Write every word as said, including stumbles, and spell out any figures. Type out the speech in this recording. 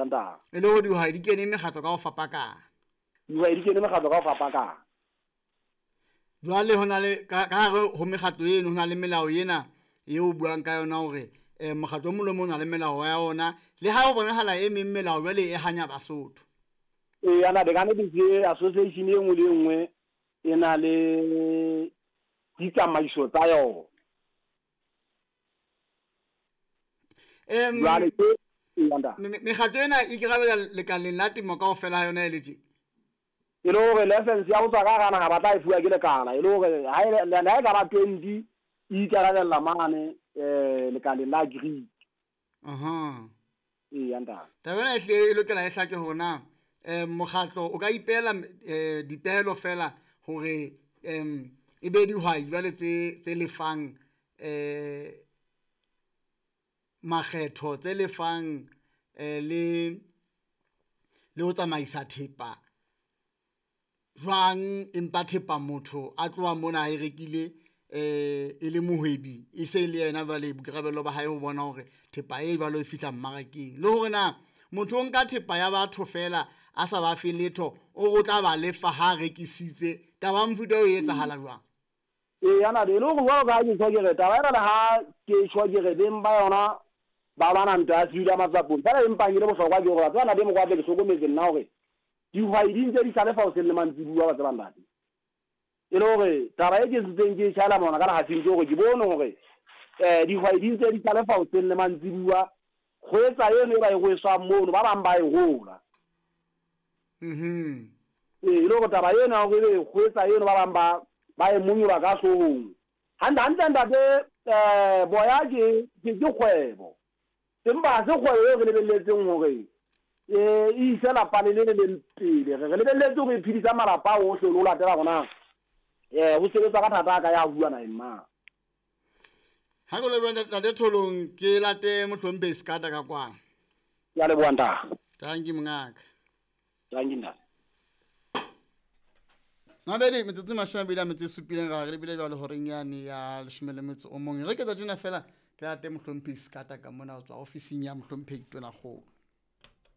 ntate. E le hore dihwai di kene mekgatlo ka ho fapakana. Dihwai di kene mekgatlo ka ho fapakana. Jwale ho na le ka ka hare ho mekgatlo eno ho na le melao ena eo o buang ka yona hore eh mokgatlo o mong le o mong o na le melao ya ona, le ha ho bonahala e meng melao jwale e hanya Basotho. Eya ntate, ka nnete ke association e nngwe le e nngwe e na le ditsamaiso tsa yona. Em Jwale ke eya ntate. me- me- mekgatlo ena e ikarabella lekaleng la temo kaofela ha yona e le tje. E le hore license ya ho tswa ka hara naha ba tla e fuwa ke lekala, e le hore ha e le ha e ka ba twenty e ikarabella mane eh lekaleng la agri. Aha. Eya ntate. Taba ena e hlile e lokela e hlake hore na eh mokgatlo o ka ipehela eh dipehelo fela hore em e be dihwai jwale tse tse lefang eh makgetho, tse lefang eh le le ho tsamaisa thepa jwang, empa thepa motho a tloha mona a e rekile eh e le mohwebi, e se le yena jwale boikarabelo ba hae ho bona hore thepa e jwalo e fihla mmarakeng. Le hore na motho o nka thepa ya batho fela a sa ba fe letho, o re o tla ba lefa ha a rekisitse. Taba ya mofuta oo e etsahala jwang? Eya ntate, e le hore jwalo ka ha ke tjho ke re taba ena le ha ke tjho ke re beng ba yona ba lwana ntwa ya sedula matsapong, feela empa e le bohlokwa ke hore wa tseba ntate Mokoatle ke hlokometse nna hore dihwai di ntse di hlalefa hoseng le mantsibuya wa tseba ntate. E le hore taba e ke ntseng ke e tjhaela monwana ka lehafing ke hore ke bone hore eh dihwai di ntse di hlalefa hoseng le mantsibuya, kgwetsa eno e ba e rweswang mono ba bang ba e hola. Mhm. Ee, e le hore taba ena ya hore ebe kgwetsa eno ba bang ba ba e monyola ka hloohong. Hantle hantle ntate eh boya ke ke ke kgwebo. Empa ha se kgwebo eo re lebelletseng hore eh e ise lapa le le leng pele. Re re lebelletse hore e phedisa malapa ohle le ho latela hore na eh ho sebetswa ka thata ha kae ha huwa naheng na. Ha ke leboha ntate Tholong, ke late mohlomphehi Sekata ka kwano. Ke a leboha ntate. Thank you mongaka. Thank you ntate. Mabedi metsotso e mashome a mabedi a metso e supileng ra re lebile jwale horeng yane ya leshome le metso o mong. Re ke tsa tjena fela ke late mohlomphehi Sekata ka mona ho tswa ofising ya mohlomphehi Tonakgolo.